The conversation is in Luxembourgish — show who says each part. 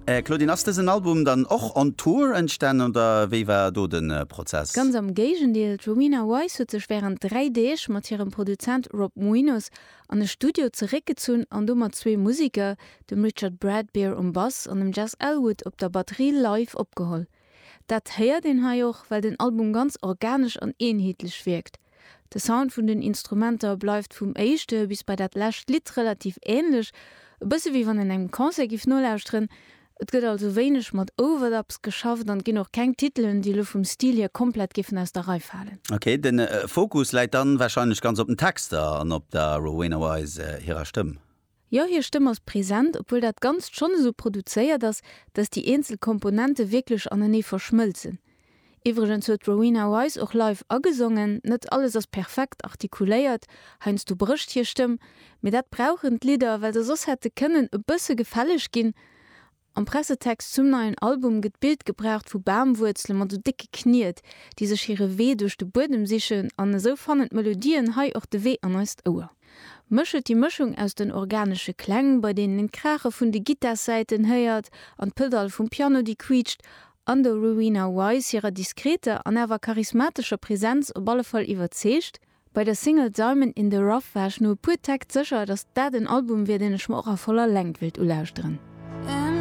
Speaker 1: Claudine, ass dësen Album dann och on Tour entstan oder wéi war do de Prozess?
Speaker 2: Ganz am Géigendeel, d'Rowena Wise huet sech wärend 3 Deeg mat hirem Produzent Rob Muinos an e Studio zeréckgezunn an do mat zwee Museker, dem Richard Bradbeer um Bass an dem Jess Elwood op der Batterie live opgeholl. Dat héiert een hei och, well den Album ganz organesch an eenheetlech wierkt. De Sound vun den Instrumenter bleift vum éischte bis bei dat lescht Lidd relativ änlech, e bësse wéi wann een engem Concert giff nolauschteren. Et gëtt also wéineg mat Overdubs geschafft an et ginn och keng Titelen, déi elo vum Stil hier komplett giffen aus der Rei falen.
Speaker 1: Ok, de Fokus läit dann warscheinlech ganz op den Texter an op der Rowena Wise hirer Stëmm.
Speaker 2: Jo, hir Stëmm ass present, obwuel dat Ganzt schonn esou produzéiert ass, dass déi eenzel Komponente wierklech anenee verschmëlzen. Iwwregens huet d'Rowena Wise och live agesongen. Net alles ass perfekt artikuléiert, heiansdo brécht hir Stëmm, mee dat brauchen d'Lidder, well se soss hätte kënnen e bësse gefälleg ginn. Am Pressetext zum neien Album gëtt d'Bild gebraucht vu Bamwuerzele mat esou décke Kniet, déi sech hire Wee duerch de Buedem sichen, an esou fannen d'Melodien hei och de Wee an eist Ouer. Mech huet déi Mëschung aus den organesche Kläng, bei deenen een d'Kraache vun de Gittarsäiten héiert an d'Pedall vum Piano, déi quiitscht, an der Rowena Wise hirer diskreter an awer charismatescher Presenz op alle Fall iwwerzeegt. Bei der Single Diamond in the Rough war ech no e puer Täkt sécher, dass dat en Album wier, deen ech mer och a voller Längt wéilt ulauschteren.